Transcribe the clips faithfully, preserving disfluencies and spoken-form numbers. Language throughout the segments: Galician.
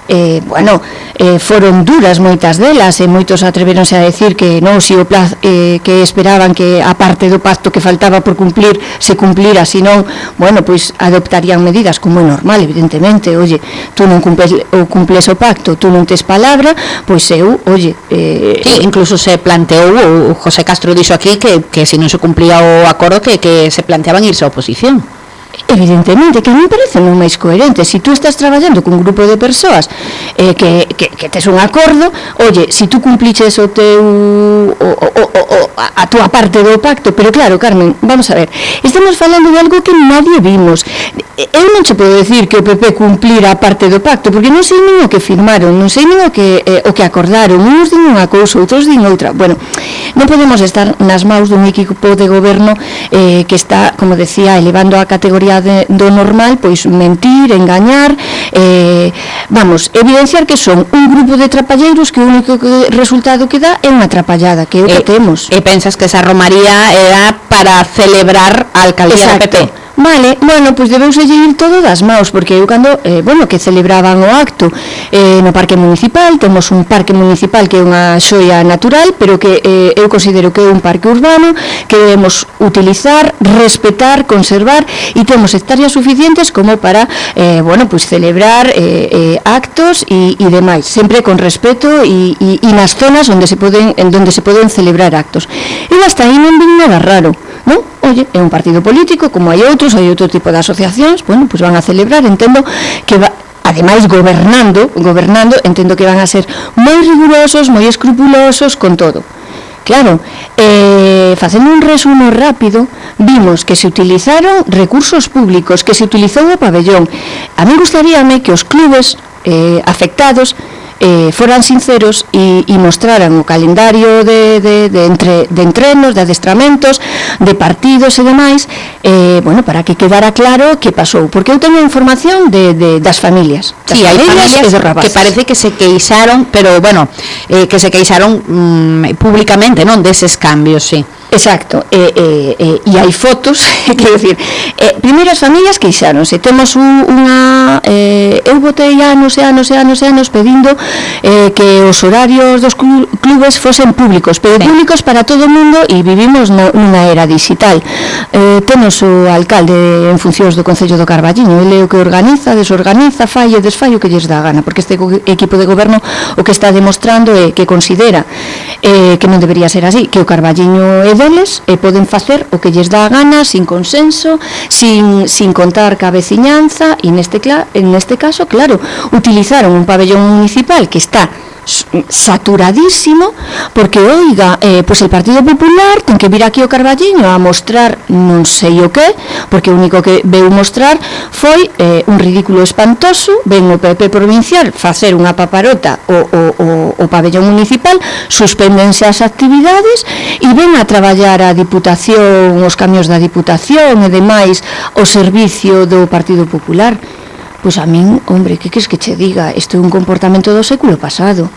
eh, bueno, eh, foron duras moitas delas, e moitos atreveronse a decir que non, si o plazo, eh, que esperaban que a parte do pacto que faltaba por cumplir se cumplira, senón, bueno, pois adoptarían medidas, como é normal, evidentemente. Oye, tú non cumples o cumples o pacto, tú non tes palabra, pois eu, oye, eh, sí, incluso se planteou, o José Castro dixo aquí que, que se non se cumplía o acordo que, que se planteaban irse á oposición. Evidentemente, que a mí me parece non máis coherente. Si tú estás traballando cun grupo de persoas eh, que, que, que tes un acordo, oye, si tú cumpliches o teu o, o, o, o, a túa parte do pacto, pero claro, Carmen, vamos a ver, estamos falando de algo que nadie vimos. Eu non che podo decir que o P P cumplira a parte do pacto, porque non sei nin o que firmaron, non sei nin o que, eh, o que acordaron, uns din unha cousa, outros din outra. Bueno, non podemos estar nas maus dun equipo de goberno eh, que está, como decía, elevando a categoría de, do normal, pois mentir, engañar, eh, vamos, evidenciar que son un grupo de trapalleiros que o único que, resultado que dá é unha trapallada, que é o que e, temos. E pensas que esa romaría era para celebrar a alcaldía do P P? Vale, bueno, pois debeuse ir todo das maus, porque eu cando, eh, bueno, que celebraban o acto eh, no parque municipal, temos un parque municipal que é unha xoia natural, pero que eh, eu considero que é un parque urbano que debemos utilizar, respetar, conservar, e temos hectáreas suficientes como para, eh, bueno, pois celebrar eh, eh, actos e, e demais, sempre con respeto e, e, e nas zonas onde se poden, en donde se poden celebrar actos. E hasta aí non vin nada raro, non? Oye, é un partido político, como hai outros, hai outro tipo de asociacións, bueno, pois van a celebrar, entendo que va, ademais gobernando, gobernando, entendo que van a ser moi rigurosos, moi escrupulosos con todo. Claro, eh, facendo un resumo rápido, vimos que se utilizaron recursos públicos, que se utilizou o pabellón. A mí gustaríame que os clubes eh, afectados Eh, foran sinceros e, e mostraran o calendario de, de, de, entre, de entrenos, de adestramentos, de partidos e demais, eh, bueno, para que quedara claro que pasou, porque eu teño información de, de, das familias, das sí, familias, hai familias que parece que se queixaron, pero bueno, eh, que se queixaron mm, públicamente, non, deses cambios, sí. Exacto, e eh, eh, eh, hai fotos, quero dicir, eh, primeiro as familias queixáronse, temos un, unha, eh, eu botei anos e anos e anos e anos pedindo eh, que os horarios dos clubes fosen públicos, pero sí, públicos para todo o mundo, e vivimos na, nunha era digital. Eh, temos o alcalde en funcións do Concello do Carballiño, ele é o que organiza, desorganiza, fai e desfai o que lles dá gana, porque este equipo de goberno o que está demostrando é que considera eh, que non debería ser así, que o Carballiño é deles e poden facer o que lles dá a gana, sin consenso, sin, sin contar ca veciñanza, e neste, en neste caso, claro, utilizaron un pabellón municipal que está saturadísimo, porque, oiga, eh, pois el Partido Popular ten que vir aquí ao Carballiño a mostrar non sei o que, porque o único que veu mostrar foi eh, un ridículo espantoso. Ven o P P provincial facer unha paparota o, o, o, o pabellón municipal, suspéndense as actividades e ven a traballar a Diputación, os camións da Diputación e demais o servicio do Partido Popular. Pois a min, hombre, que queres que che diga? Isto é un comportamento do século pasado.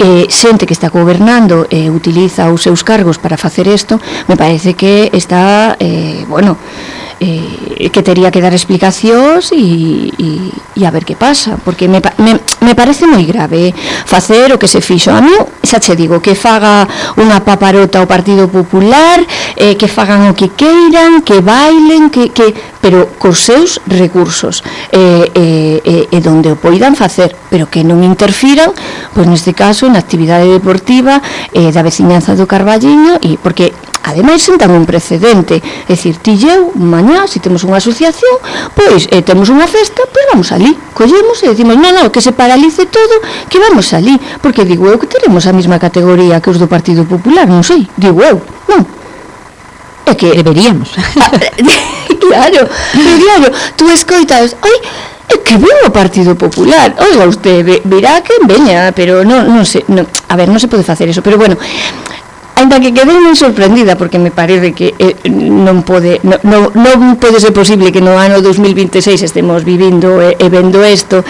Eh, xente que está gobernando e eh, utiliza os seus cargos para facer isto, me parece que está, eh, bueno, eh, que tería que dar explicacións e, e, e a ver que pasa, porque me, me, me parece moi grave facer o que se fixo. A mí, xa che digo, que faga unha paparota ao Partido Popular, eh, que fagan o que queiran, que bailen, que, que pero cos seus recursos, e eh, eh, eh, donde o poidan facer, pero que non interfiran, pois neste caso, na actividade deportiva eh, da veciñanza do Carballiño, e porque ademais sentan un precedente, é dicir, ti e eu, mañá, se temos unha asociación, pois eh, temos unha festa, pois vamos ali, collemos e decimos, non, non, que se paralice todo, que vamos ali, porque digo eu que teremos a mesma categoría que os do Partido Popular, non sei, digo eu, non? É que deberíamos. Claro, claro, tú escoitas, ai, é que ven o Partido Popular, oiga usted, verá que veña, pero non, non sei, non, a ver, non se pode facer eso, pero bueno, ainda que quedei moi sorprendida, porque me parece que eh, non pode non, non, non pode ser posible que no ano dos mil vinte e seis estemos vivindo e, e vendo isto.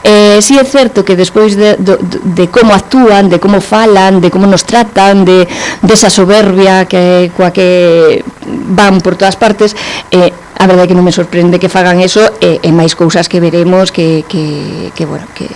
Eh, si é certo que despois de, de, de como actúan, de como falan, de como nos tratan, de desa soberbia que coa que van por todas partes, eh, a verdade é que non me sorprende que fagan eso, e, e máis cousas que veremos que, que, que bueno, que